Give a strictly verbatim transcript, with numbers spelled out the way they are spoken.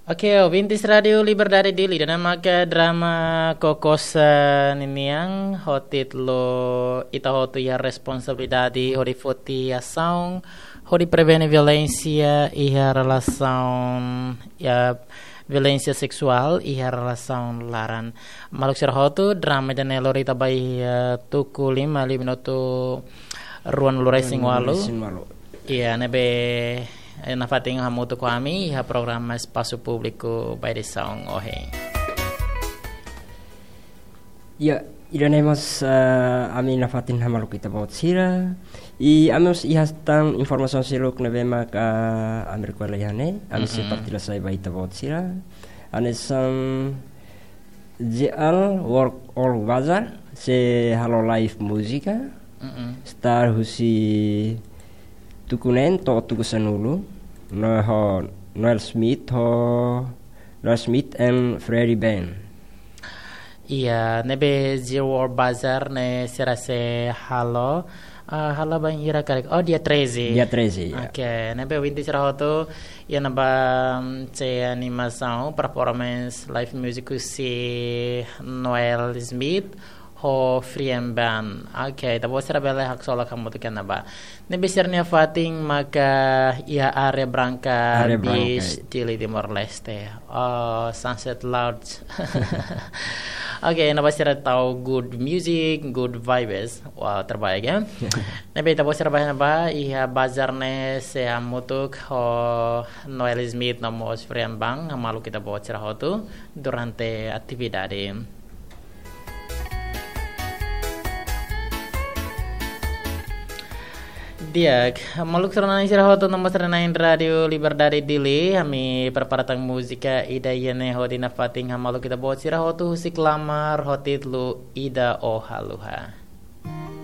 Oke, ouvintes Rádiu Liberdade Dili, ida-ne'e maka drama Kokosa ninian, ho títulu Ita Hotu Iha Responsabilidade hodi foti asaun hodi prevene violénsia iha relasaun, ya, violénsia seksuál iha relasaun laran. Maluk sira hotu, drama ida-ne'e lori ita ba iha, eh, tuku lima liu minutu ruanulu resin walu. Ruanulu resin walu. Iya, ne'ebé, eh, nafatin hamutuk ho ami iha programa Espasu Públiku ba edisaun ohin. Iya, ida-ne'e mós, eh, ami nafatin hamutuk ho ita-boot sira. I ami mós iha tan informasaun seluk ne'ebé maka ami rekolla iha ne'e, ami sei, mhm, partilla sai ba ita-boot sira. Hanesan J L World, World Bazaar sei halo live múzika. Mm-mm. Start husi tuku neen to'o tuku sanulu. No ho Noel Smith, ho Noel Smith and Freddy Band. Iya, ne'ebé J L World Bazaar ne'e sira sei halo, ah, halo bainhira karik. Oh, dia treze. Dia treze, ya. Oke, ne'ebé ouvintes sira hotu, iha ne'ebá, mm, sei animasaun, performance live music husi Noel Smith ho Freddy Band. Oke, ita-boot sira bele haksolok hamutuk iha ne'ebá. Ne'ebé sira-nia fatin maka iha Areia Branca, Areia Branca, Beach, Dili, Timor-Leste. Oh, Sunset Lounge. Oke, ne'ebá sira tau good music, good vibes. Wow, terbaik ya. Ne'ebé ita-boot sira ba iha ne'ebá, iha bazár ne'e sei hamutuk ho Noel Smith no mós Freddy Band, hamaluk ita-boot sira hotu durante atividade. Di'ak, maluk sira-na'in sira hotu no mós sira-na'in Rádiu Liberdade Dili, ami prepara tan múzika ida iha ne'e hodi nafatin hamaluk ita-boot sira hotu husi Klamar ho títulu Ida O Haluha.